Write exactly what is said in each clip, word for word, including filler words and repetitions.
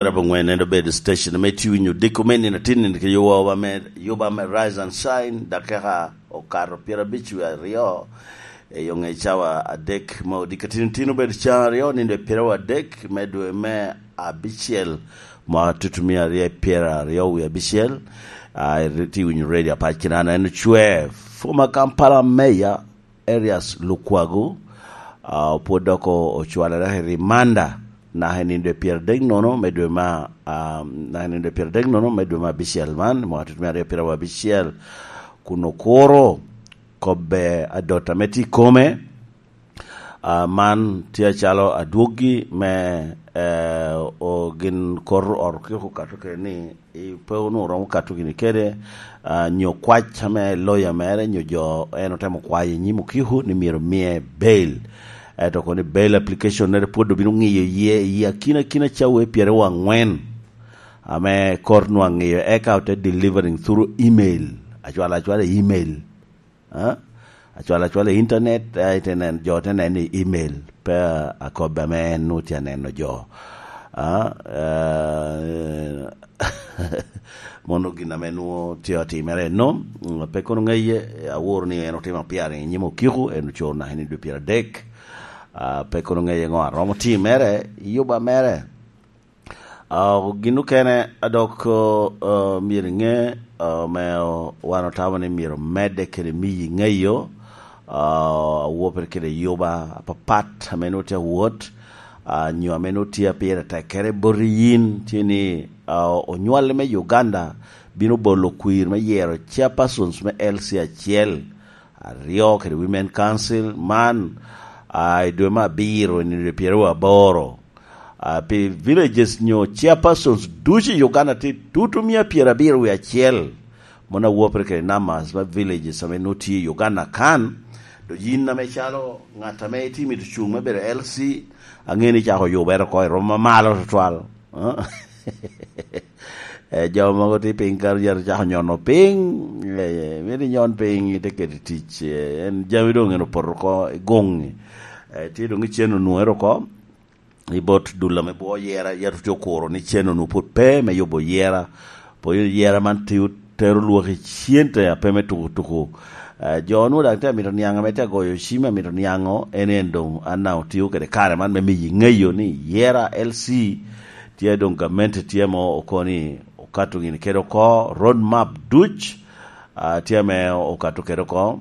Rabo ngwen en obedo station me tiwi nyo diko me nino tin nino ke yowa me yoba me Rise and Shine, dakika okato pyera bic wi aryo e yo nge cawa adek ma odika tin tin obedo can aryo nino e pyera wa adek me dwe me abicel, ma tutu mia aryo pyera aryo wi abicel. A, iti winyo radio apac kinana en ocwe former Kampala Mayor Erias Lukwago, a, pwod dok o-, ocwalere i rimanda naka i nino dwe pyeradek nono me dwe ma, a, naka i nino dwe pyeradek nono me dwe ma abicel man, mwaka tutu me aryo pyera abicel, kun okuro kobbe adot ame tye i kome. A, man tye acalo adwoggi me, e, o, gin kor ot okiko okato kede ni i pe onwoŋo romo kato gini kede, a, nyo kwac ame loya mere nyo jo en otemo kwayo i nyim okiko ni myero mie bail. Ento kono ni bail application nere pwod obino ŋiyo iye i akina akina cawa pyeraryo angwen ame kor nwaŋ ŋiyo eka ote delivering through email, acwala acwala email. A? Acwal acwal i internet, a, ite nen, jo te neno i email, pe akobbe ame en nwoŋo tye aneno jo. A, eh, mono gin ame nwoŋo tye otimere eno, mm, pe kono ŋeye, aworo ni en otimo appearing i nyim okiko, en ocoro naka i dwe pyeradek. A, pe kono ŋeye ŋo aromo timere, i yuba mere. A, gin okene a dok, a, myero iŋe, a, ame wan otamo ni myero medde kede miyi ŋeyo, a, awope kede yuba apapat ame nwoŋo tye awot, a, nyo ame nwoŋo tye pire tekkere boti yin, tye ni, a, onywalli me Uganda bino bolo kwir me yero chairpersons me L C acel, aryo kede Women Council man, a, i dwe me abiro i nino pyeraryo aboro. A, pi villages nyo chairpersons ducu i Uganda tye tutu mia pyerabiro wie acel. Mono awopere kede numbers me villages ame nwoŋo tye i Uganda kan. Do yin ame calo ŋat ame itye mito cuŋ me bedo L C, aŋeo ni icako yubere oko i rwom mamalo tutwal. Eh, jo mogo tye piny kato yat ocako nyono piny. Eh, mito inyon piny, ite keto i tic. Eh, en jami doŋ en opoto oko i goŋŋi. Eh, tye doŋ icen onwoŋere oko i bot dul ame bwo yera, yat otye okuro ni cen onwoŋo pwod pe me yubo yera. Pwod yera man tye otero lwak i cente a pe me tuko tuko. Eh, jo onwoŋo daŋ tye amito niaŋ ame tye agoyo cim amito niaŋo en en doŋ an daŋ otio kede kare man me miyi ŋeyo ni yera L C tye doŋ gamente tye mo oko ni okato gini kede oko road map duc, a, tye ame okato kede oko.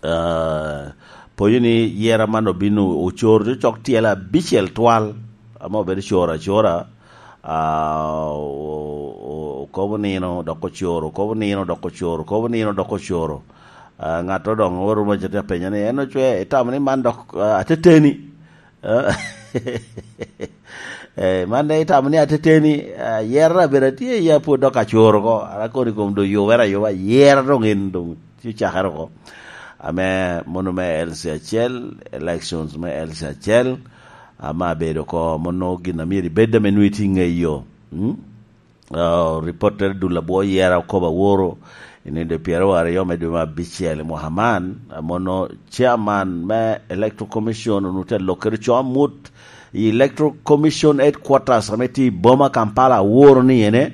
Ah, poyo ni yera man obino ocoro cok tyel abicel twal, ame obedo coro acora, ah, o-, o-, okobo nino dok ocoro, okobo nino dok ocoro, okobo nino dok ocoro. Ah, ŋat odoŋo orumo acel te apenya ni, "En ocwe, itamo ni man dok, ah, ateteni?" Eh, man daŋ itamo ni ateteni, ah, yera bene tye, ya pwod dok acoro oko, ara kono i kom do yubere ayuba, yera doŋ en doŋ tye cakere oko. Ame mono me L C acel, elections me L C acel, ama abedo oko, mono gin a myero ibed ame nwoŋo itye i ŋeyo. Mm? Ah, ripottere dul abwo yera okobo aworo i nino pyeraryo me dwe me abicel i mwaka man, ah, mono chairman me Electoral Commission onwoŋo tye alok kede co amut i Electoral Commission headquarters ame tye i boma Kampala aworo ni ene,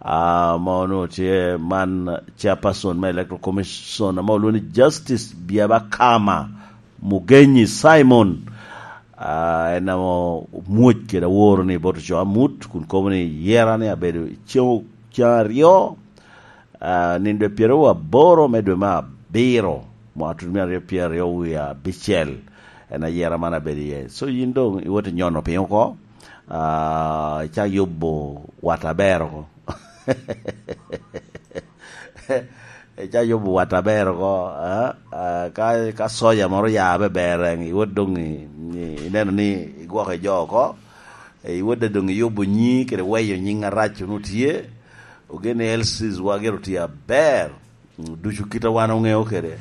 ah, mono tye man chairperson me Electoral Commission ame olwoŋo ni Justice Byabakama Mugenyi Simon, ah, en ame omwoc kede aworo ni bot oco amut, kun kobo ni yera ni abedo i cen, cen aryo, ah, nino dwe pyeraryo aboro me dwe me abiro, mwaka tutu me aryo pyeraryo wie abicel. En ayera man abedo iye. So yin doŋ iwot inyono piny oko, ah, icak yubo wat aber oko. Icak yubo wat aber oko, ah, ah, ka, ka soja moro ya abe ber, eh, iwot doŋ i, i, ineno ni igwoko i jo oko, eh, iwot doŋ iyubo nyi kede weyo nyiŋ arac onwoŋo tye, ogen ni L Cs wa gire otye aber, mm, ducu kite wan oŋeo kede,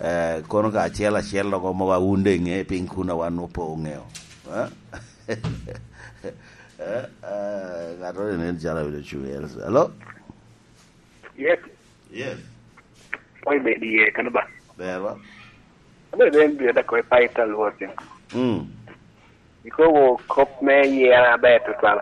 eh, kono ka acel acel dok omo wa wun de iŋe piny kun a wan opo oŋeo. Eh? Eh, eh, ŋat moro nen calo abino cuŋ i L C. Hello? Yes. Yes. Oi, bed iye, kano ba? Ber ba? Abe ben bi da ko e pa ita luote. Mm. Ikobo kop me yera ber tutwal.